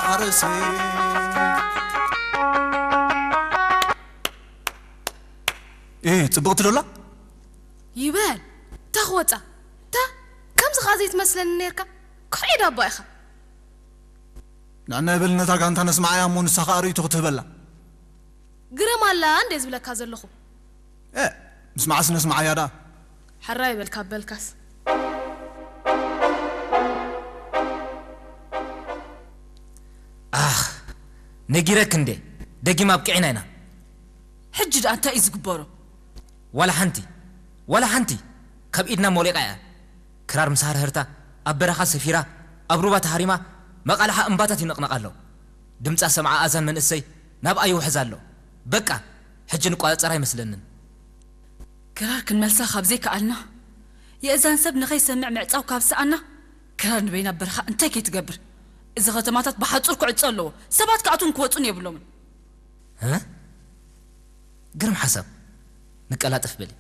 ኣርእሲ። እ፣ ጽብቕቲ ዶ ኣላ? ይበል። እታ ክወጻ። እታ ከምዚ ኸኣ ዘይትመስለኒ ነርካ። ኩሕዒ ዳባ ኢኻ። ንዕና ይበል ነታ ጋንታ ነስምዓያ እሞ ንሳ ኸኣ ርእይቶ ክትህበላ። ግረም ኣላ እንዴ ዝብለካ ዘለኹ። እ፣ ምስማዕስ ነስምዓያ ደኣ። ሕራይ በልካ በልካስ። ኣኽ፣ ነጊረክ እንዴ፣ ደጊም ኣብቂዕና ኢና። ሕጂ ደኣ እንታይ እዩ ዝግበሮ? ዋላ ሓንቲ፣ ዋላ ሓንቲ ካብ ኢድና ሞሊቓ እያ። ክራር ምስ ሃርህርታ ኣብ በረኻ ሰፊራ፣ ኣብ ሩባ ተሃሪማ፣ መቓልሓ እምባታት ይንቕነቕ ኣሎ። ድምጻ ሰምዓ ኣዛን መንእሰይ ናብኣ ይውሕዝ ኣሎ። በቃ፣ ሕጂ ንቋጸር ኣይመስለንን። ክራር ክንመልሳ ካብ ዘይከኣልና፣ የእዛን ሰብ ንኸይሰምዕ ምዕጻው ካብ ሰኣና፣ ክራር ንበይና ኣብ በረኻ እንታይ ከይትገብር? እዚ ከተማታት ብሓጹር ክዕጾ ኣለዎ። ሰባት ክኣትዉን ክወጹን የብሎምን። እ? ግርም ሓሳብ። ንቀላጠፍ በሊ።